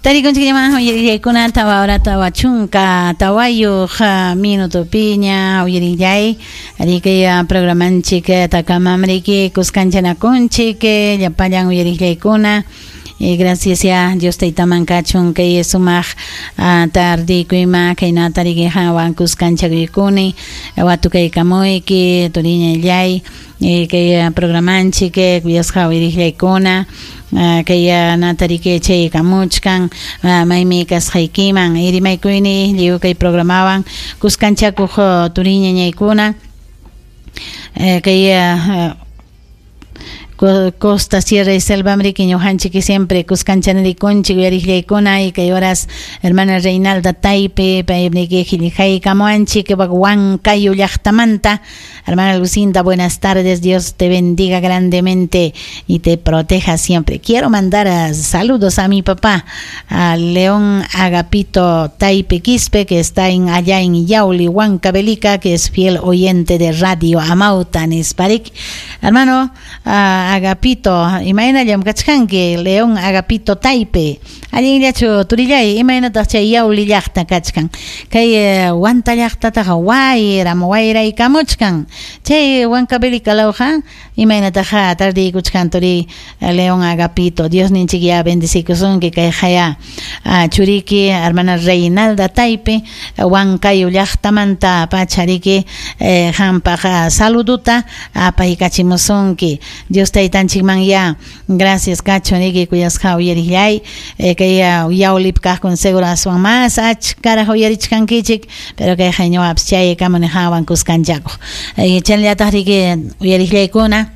Tarikunchikllaman uyarillaykuna tawa hora 40 tawayuq minutopiña uyarillay riki programanchik takamamriki kuskanchanakunchik llapallan uyarillaykuna. Gracias ya Dios taytaman kachun kay sumaq tardikuyma kaynata riki hawan kuskanchakuykuni watukaykamuyki turiñallay kay programanchik kuyasqa uyarillaykuna kay natariki chaykamuchkan maymi kasqaykiman rimaykuyni lliw kay programawan kuskanchakuq turiñañaykuna kay Costa, Sierra y Selva mriki ñuqanchik siempre kuskanchanarikunchik uyariqllaykuna y kay horas hermana Reinalda Taipe paymriki qillqaykamuwanchik Huancayo llaqtamanta. Hermana Lucinda, buenas tardes, Dios te bendiga grandemente y te proteja siempre. Quiero mandar saludos a mi papá, a León Agapito Taipe Quispe, que está allá en Yauli, Huancavelica, que es fiel oyente de Radio Amauta, Nisparik. Hermano Agapito, imaynallam kachkanki, León Agapito Taipe. Allinllachu turillay, imaynataq chay Yauli llaqta kachkan. Kay Huanta llaqtataqa wayram wayraykamuchkan. Chay Huancavelica lawqa imaynataqa tardiykuchkan turi León Agapito. Dios ninchik ya bendecikusunki kay haya churiki hermana Reinalda Taipe Huancayo llaqtamanta pachariki hampaq saluduta apaykachimusunki. Dios taytanchikman ya gracias kachun riki kuyasqa uyarillay kay Yaulip kaqkun seguro aswan más achkaraq uyarichkankichik, pero kay hayñuwapas chay kamuni hawan kuskanchakuq. Chayllataq riki uyarillaykuna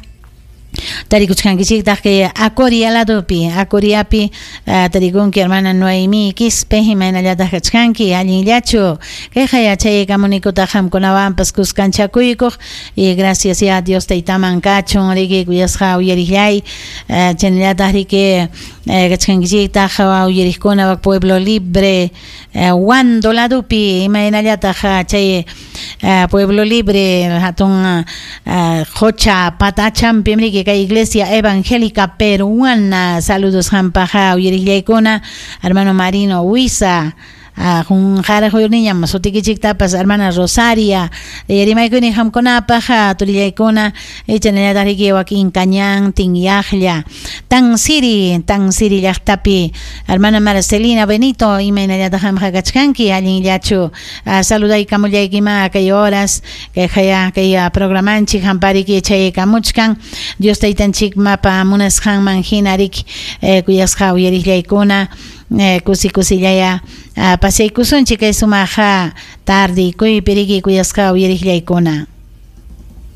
tarikuchkankichiktaq kay Acoria ladopi, Acoriapi tarikunki hermana Noemí Quispe, imaynallataq kachkanki allinllachu kayqa yachaykamunikutaq qamkunawanpas kuskanchakuykuq y gracias ya Dios taytaman kachun riki kuyasqa uyarillay chaynallataq riki kachkankichiktaq uyariqkuna Pueblo Libre Huando ladopi imaynallataq chay Pueblo Libre hatun qocha patachampi riki kay Iglesia Evangélica Peruana. Saludos hampaja uyarillaykuna hermano Marino Huiza junqaraq sutikichiktapas hermana Rosaria rimaykuni qamkunapaq turillaykuna chaynallataq riki wakin Cañán Tinyaqlla Tansiri Tansiri llaqtapi hermana Marcelina Benito imaynallataq qamqa kachkanki allinllachu saludaykamullaykima kay horas kay haya kay programanchik hampariki chaykamuchkan Dios taytanchik mapa munasqanman hina riki kuyasqa uyarillaykuna kusi kusillaya pasaykusunchik kay sumaqa tardikuypi riki kuyasqa uyarillaykuna.